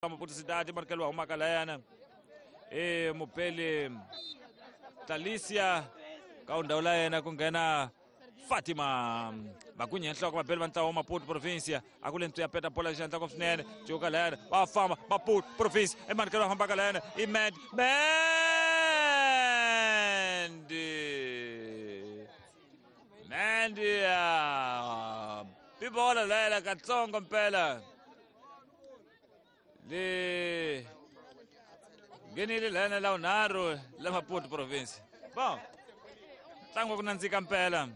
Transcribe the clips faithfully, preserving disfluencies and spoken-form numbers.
Maputo Cidade markelo wa humaka layana e mupeli Talicia ka ndhawu la yena ku nghena Fatima Makunye nhloko vabeli va ntlawa wa Maputo Provincia a ku le ntsu ya peta bola xandla ko swinene cuka layana va famba Maputo Province e markelo wa fambaka layana i Mend Mendi Mendi bibola layana katsongo mpela le nghenile layana la unharhu la Maputo Province. Bom, ntlangu wa ku nandzika mpela.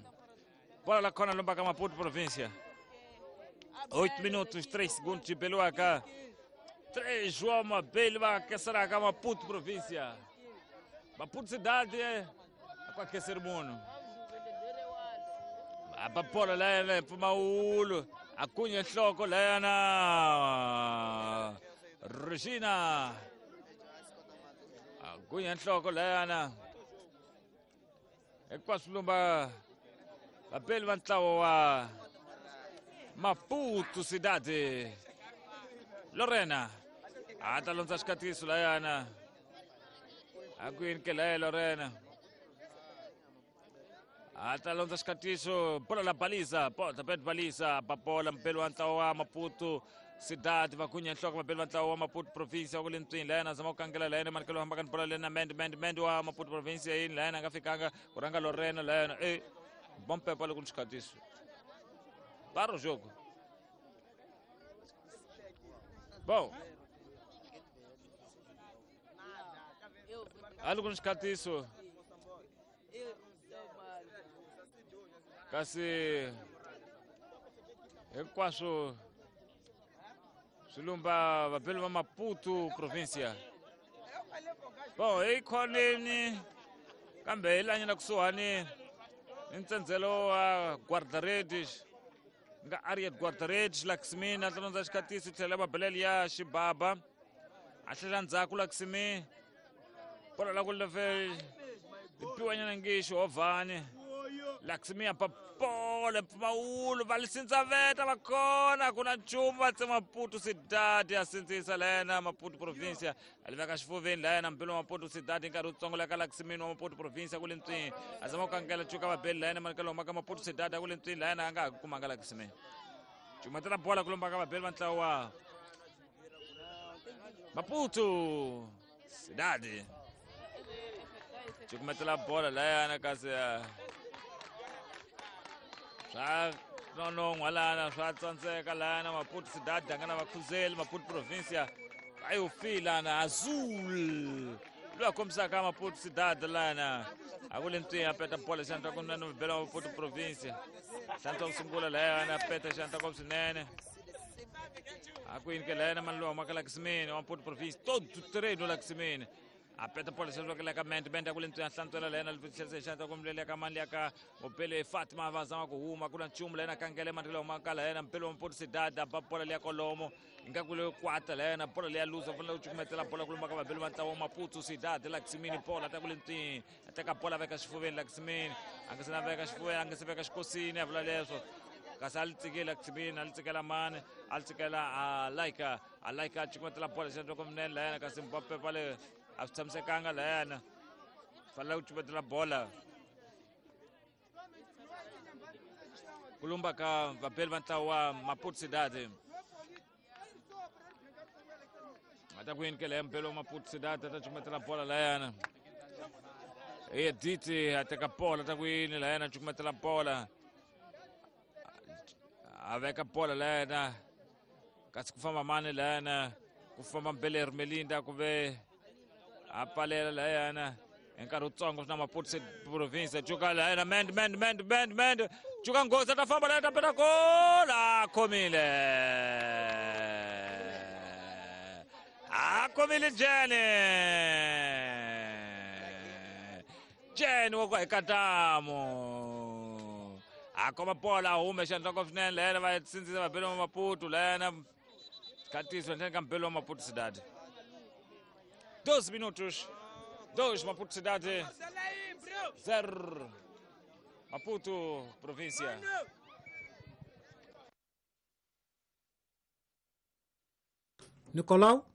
Bola la khona lomba ka Maputo Província. oito minutos, três segundos de Beluaca. três João Mabel va aquecerá Maputo Província. Maputo Cidade com aquecer mundo. A bola lá Pumaulo, a cunha nhloko lana Regina. A cunha nhloko lana. Ekwasulumba vabeli va ntlawa wa Maputo Cidade. Lorena a ta londza xikatiso layana a ku yini ke laya Lorena a ta londza xikatiso bola la balisa bota pet balisa papola mpeli wa ntlawa wa Maputo Cidade va kunya nhloko vabeli va ntlawa wa Maputo Provincia wa ku le ntswini layana zama ku kangela layana manikelo hambaka ni bola lena Mend Mend Mend wa Maputo Provincia yini layana a nga fikanga ku rhanga Lorena layana e bom pepa le ku ni xikatiso para o jogo. Bom, ali ku ni xikatiso kasi hinkwaswo swi lumba vabeli va Maputo Provincia. Bom, hi khoneni kambe hi lanyana kusuhani ni ntsendzelo wa guarda-redes nga Ariet guarda-redes Laxmi a tlondza xikatiso tlhela mabelele ya xibaba a tlhela ndzhaku Laxmi bola la ku leve piwanyana ngi xihovhani Laxmi a papola mpfumawulo va lisindzaveta va kona ku na nchumu va tsema Maputo Cidade a sindzisa layena Maputo Provincia a liveka xifuveni layena mpilo wa Maputo Cidade nkarhi wutsongo la ka Laxmi wa Maputo Provincia ku le ntswini a zama ku kangela cuka vabeli layena manikelo humaka Maputo Cidade a ku le ntswini layena a nga ha kumanga Laxmi cumatela bola ku lomba ka vabeli va ntlawa wa Maputo Cidade cukumetela bola layana kasi swa nonon'hwa lana swa tsandzeka lana Maputo Cidade a nga na vakhuzeli Maputo Provincia a yo fi lana Azul loyi a kombisaka Maputo Cidade lana a ku le ntswini a peta bola xandla ku nene bela Maputo Provincia xandla ku sungula layana a peta xandla ku swinene a ku yini ke layana mani loyi humaka Laxmi wa Maputo Provincia todo treino Laxmi a peta bola xandla ku leka Mend Mend a ku le ntswini a hlantswela layena tlherisa xandla ku mlele ka mani ka mupele Fatima va zama ku huma ku na nchumu layena kangele mani loyi humaka layena mpele wa Maputo Cidade a ba bola liya kolomo ingaku leyo kwata layena bola liya luza fanele ku cukumetela bola ku lumba ka vabeli va ntlawa wa Maputo Cidade Laxmi bola ta ku le ntswini a teka bola veka xifuveni Laxmi a nga se na veka xifuveni a nga se veka xikosini a vula leswo kasi a li tsikile Laxmi a li tsikela mani a li tsikela a Laika a Laika a cukumetela bola xandla ku minene layena kasi Mbappe pale a swi tshamisekanga layana fanele ku cukumetela bola ku lumba ka vabeli va ntlawa wa Maputo Cidade a ta ku yini ke leya mpelo wa Maputo Cidade a ta cukumetela bola layana Edith a teka bola ta ku yini layana a cukumetela bola a veka bola layana kasi ku famba mani layana ku famba Mbele Ermelinda ku ve a palela layana hi nkarhi wutsongo swi na Maputo Provincia cuka layana Mend Mend Mend Mend Mend cuka nghozi a ta famba layana ta peta gola a khomile a khomile Jene Jene wa ku hekatamu a khoma bola a hume xandla ko swinene layana va sindzisa vabeli wa Maputo layana xikatiso nhleni ka mbeli wa Maputo Cidade. doze minutos, dois Maputo Cidade, zero Maputo Província. Nicolau?